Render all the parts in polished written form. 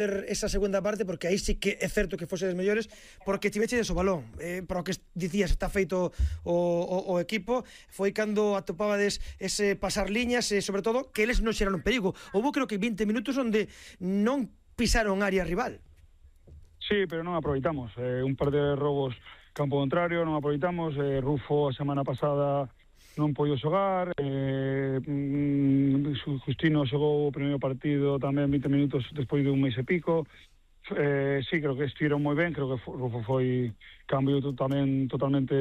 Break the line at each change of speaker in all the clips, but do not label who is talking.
esa segunda parte, porque aí sí que é certo que fosedes mellores, porque tivechedes o balón, para o que dicías está feito o equipo, foi cando atopabades ese pasar liñas e sobre todo que eles non xeraron perigo. Houve creo que 20 minutos onde non pisaron área rival.
Sí, pero non aproveitamos, un par de robos campo contrario, non aproveitamos. Rufo a semana pasada non podido xogar, Justino xogou o primeiro partido tamén 20 minutos despois de un mes e pico. Sí, creo que estiveron moi ben, creo que Rufo foi cambio tamén totalmente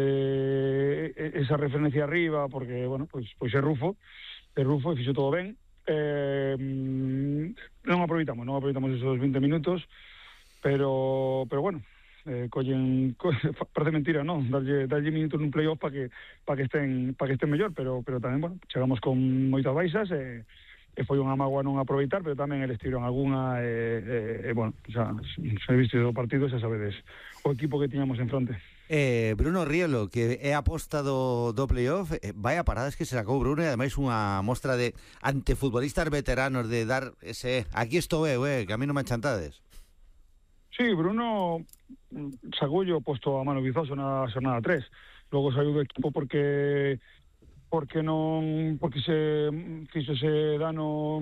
esa referencia arriba, porque, bueno, pois é Rufo e fixo todo ben. Non aproveitamos esos 20 minutos, pero bueno, parece mentira, non? Darlle minutos nun playoff para que estén mellor, pero tamén, bueno, chegamos con moitas baixas e foi unha mágoa non aproveitar, pero tamén eles tiron algunha bueno, xa viste o partido, xa sabedes o equipo que tiñamos en fronte.
Bruno Rielo, que é a aposta do playoff, vai a paradas que se sacou Bruno, e ademais unha mostra de ante futbolistas veteranos de dar ese, aquí estou eu, que a mí non me achantades.
Sí, Bruno sacoulle o posto a Manu Vizoso na xornada 3. Logo saiu do equipo porque se fixo ese dano,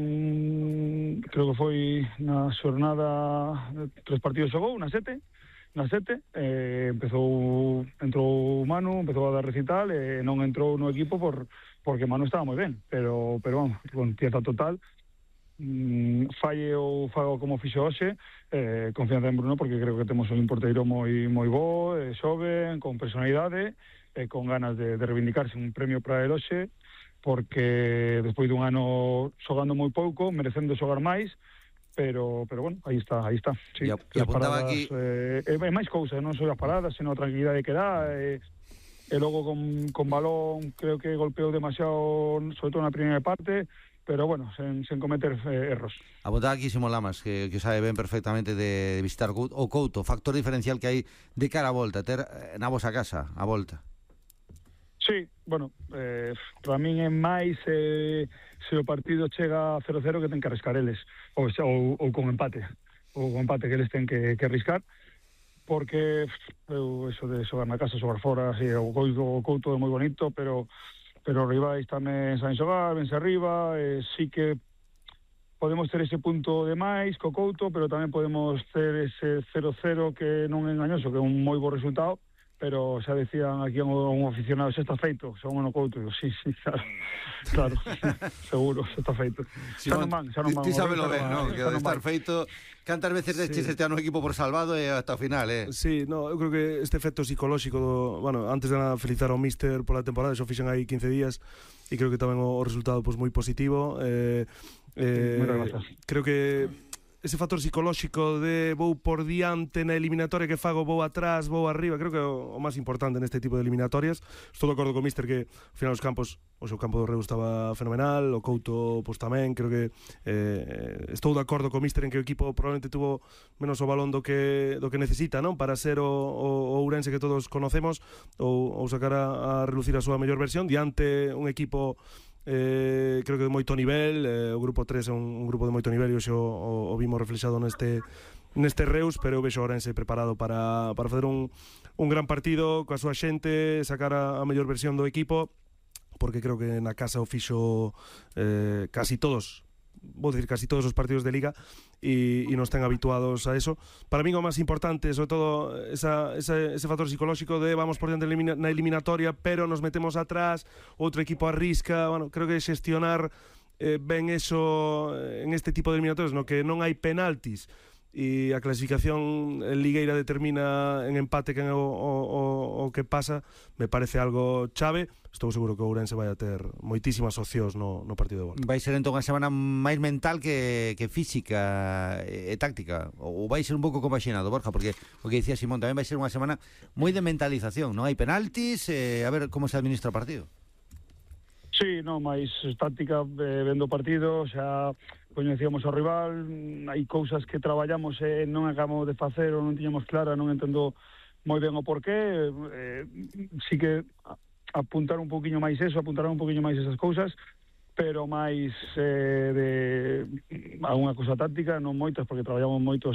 creo que foi na xornada 3 partidos xogou, na 7, entrou Manu, empezou a dar recital e non entrou no equipo porque Manu estaba moi ben, pero vamos, con pieza total. Falle ou fago como fixo hoxe, confianza en Bruno, porque creo que temos un porteiro moi bo, xoven, con personalidade, con ganas de reivindicarse. Un premio para el hoxe, porque despois dun ano xogando moi pouco, merecendo xogar máis, pero bueno, aí está. Sí,
e apuntaba
paradas,
aquí
é máis cousa, non só as paradas, senón a tranquilidade que dá, e logo con balón creo que golpeou demasiado, sobre todo na primeira parte, pero bueno, sen cometer erros.
Apuntaba aquí Simón Lamas, que sabe ben perfectamente de visitar o Couto, factor diferencial que hai de cara a volta, ter na vosa casa a volta.
Sí, bueno, para min é máis se o partido chega a 0-0 que ten que arriscar eles, ou con empate, que eles ten que arriscar, porque eso de xogar na casa, xogar fora, sí, o Couto é moi bonito, pero os rivais tamén saben xogar, vense arriba, sí que podemos ter ese punto de máis co Couto, pero tamén podemos ter ese 0-0 que non é engañoso, que é un moi bo resultado, pero xa decían aquí un aficionado, xa está feito, xa no Couto, digo, sí, claro, seguro, xa está feito. Xa non van.
Ti sábelo ben, non? Que estar feito, cantas veces deches este ano equipo por salvado e hasta o final,
Sí, no, eu creo que este efecto psicolóxico bueno, antes de nada felicitar ao míster pola temporada, xo fixen aí 15 días e creo que tamén o resultado pois moi positivo. Creo que ese factor psicolóxico de vou por diante na eliminatoria que fago, vou atrás, vou arriba, creo que é o máis importante neste tipo de eliminatorias. Estou de acordo co míster que ao final os campos, o seu campo do Reus estaba fenomenal, o Couto pois tamén, creo que estou de acordo co míster en que o equipo probablemente tuvo menos o balón do que necesita, non? Para ser o Ourense que todos conocemos ou sacar a relucir a súa mellor versión diante un equipo creo que de moito nivel. O grupo 3 é un grupo de moito nivel e hoxe o vimos reflexado neste Reus, pero eu vexo o Ourense preparado para facer un gran partido coa súa xente, sacar a mellor versión do equipo, porque creo que na casa o fixo casi todos os partidos de Liga e nos ten habituados a eso. Para mí o máis importante, sobre todo ese factor psicolóxico de vamos por diante na eliminatoria, pero nos metemos atrás, outro equipo arrisca. Bueno, creo que xestionar ben eso en este tipo de eliminatorias, no que non hai penaltis e a clasificación en ligueira determina en empate quen é o que pasa, me parece algo chave. Estou seguro que o Ourense vai a ter moitísimas opcións no partido de volta.
Vai ser entón unha semana máis mental que física e táctica, ou vai ser un pouco compaxinado, Borja, porque o que dicía Simón, tamén vai ser unha semana moi de mentalización, non hai penaltis, a ver como se administra o partido.
Sí, non, máis táctica, vendo o partido, xa coñecíamos o rival, hai cousas que traballamos e non acabamos de facer ou non tiñamos clara, non entendo moi ben o porqué, sí que apuntar un poquinho máis esas cousas, pero máis de alguna cousa táctica, non moitas, porque traballamos moito